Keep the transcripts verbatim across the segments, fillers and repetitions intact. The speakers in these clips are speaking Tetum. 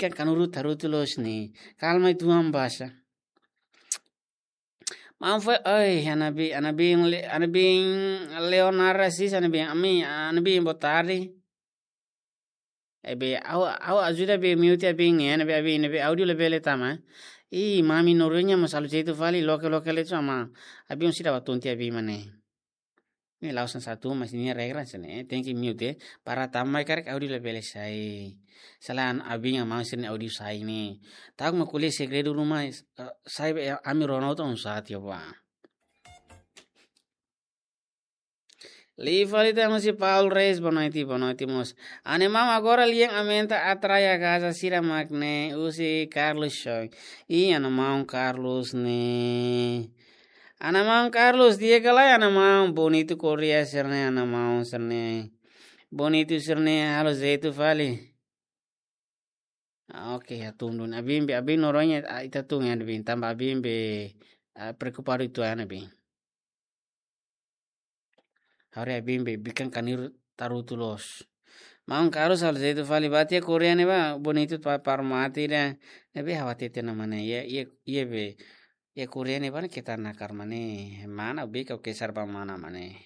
Kan kanuru tarutu loos ne'e. Kalma itu ambasa. Maun foin, oi, ana biin, ana biin le-, ana biin Leonardo Assis, ana biin, ami, ana biin boa tarde. Ne'ebé, ha'u, ha'u ajuda be mute abin ne'e, ne'ebé abin, ne'ebé áudio labele tama. Ih, mami Noronha mós halo jeitu fali, loke, loke le tu ama. Abin sira ba tonti abin mak ne'e. Ne'e la'ós hanesan satu, mas ne'e regra hanesan ne'e, tenke mute, para tama karik áudio labele sai. Selae abin ama sira-nia áudio sai ne'e. Ta'uk mak ko'alia segredu ruma, eh, sai be ami rona hotu oinsá tiha ba. Liu fali tan husi Paul Reis, boa noite, boa noite mós. Ana maun agora lian aumenta atrai a gaza sira mak ne'e, husi Carlos Show. Ih, ana maun Carlos ne'e. Ana maun Carlos, di'ak ka lae, ana maun Bonito Correia sira-ne'e, ana maun sira-ne'e. Bonito sira-ne'e, halo jeitu fali. Ah, oke, hatún duni. Abin be, abin Noronha, ah, ita tun ya, abin. Tanba abin be, ah, preokupadu uitoan abin. Haree abin be, bikan kanuru tarutu loos. Maun Carlos halo jeitu fali, ba tiha Correia ne'e ba, Bonito pa-, para mate ida, ne'ebé ha'u hatete ona mak ne'e, iha, iha, iha be, iha Correia ne'e ba ne'e keta nakar mak ne'e, mana be ka ke sar ba mana mak ne'e.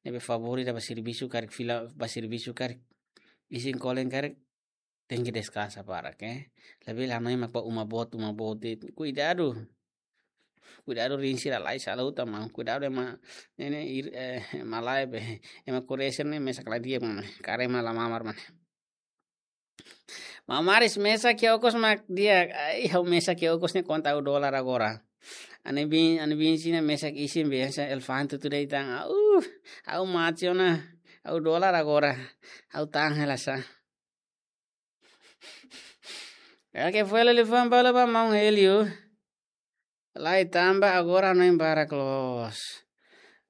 Ne'ebé favór ida ba servisu karik fila, ba servisu karik, isin kolen karik, tenke deskansa barak, eh. Labele hanoin mak ba uma boot, uma boot de'it. Kuidadu. Kuidadu rin sira lai sala uta maun. Kuidadu ema ne'e, ne'e ir, eh, ema lae be. Ema Correia sira-ne'e mesak la di'ak mak ne'e. Karik ema la mamar mak ne'e. Mamaris mesak iha okos mak di'ak. Ai, ha'u mesak iha okos ne'e konta ha'u dolar agora. Ana biin, ana biin sira mesak isin be hanesan elefante tuda itan. Au, ha'u mate ona. Ha'u dolar agora. Ha'u tahan hela sa. Oke, foin hela liafuan balu ba maun Helio. Lae, tanba agora hanoin barak loos.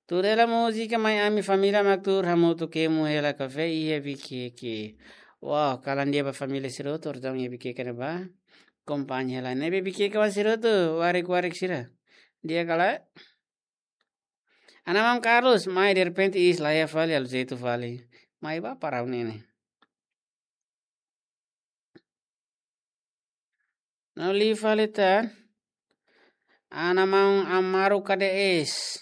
Tuur hela múzika mai ami família mak tuur hamutuk kemu hela kafé iha Viqueque. Wow, kalan di'ak ba família sira hotu, orsida iha Viqueque ne'ebá. Akompaña hela. Ne'ebé Viqueque wan sira hotu, warik-warik sira. Di'ak ka lae? Ana maun Carlos, mai derrepente iis la iha fali, halo jeitu fali. Mai ba para ha'u-nia ne'e. No liu fali tan. Ana maun Amaro K D S.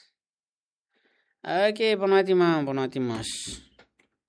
Oke, boa noite maun, boa noite mós.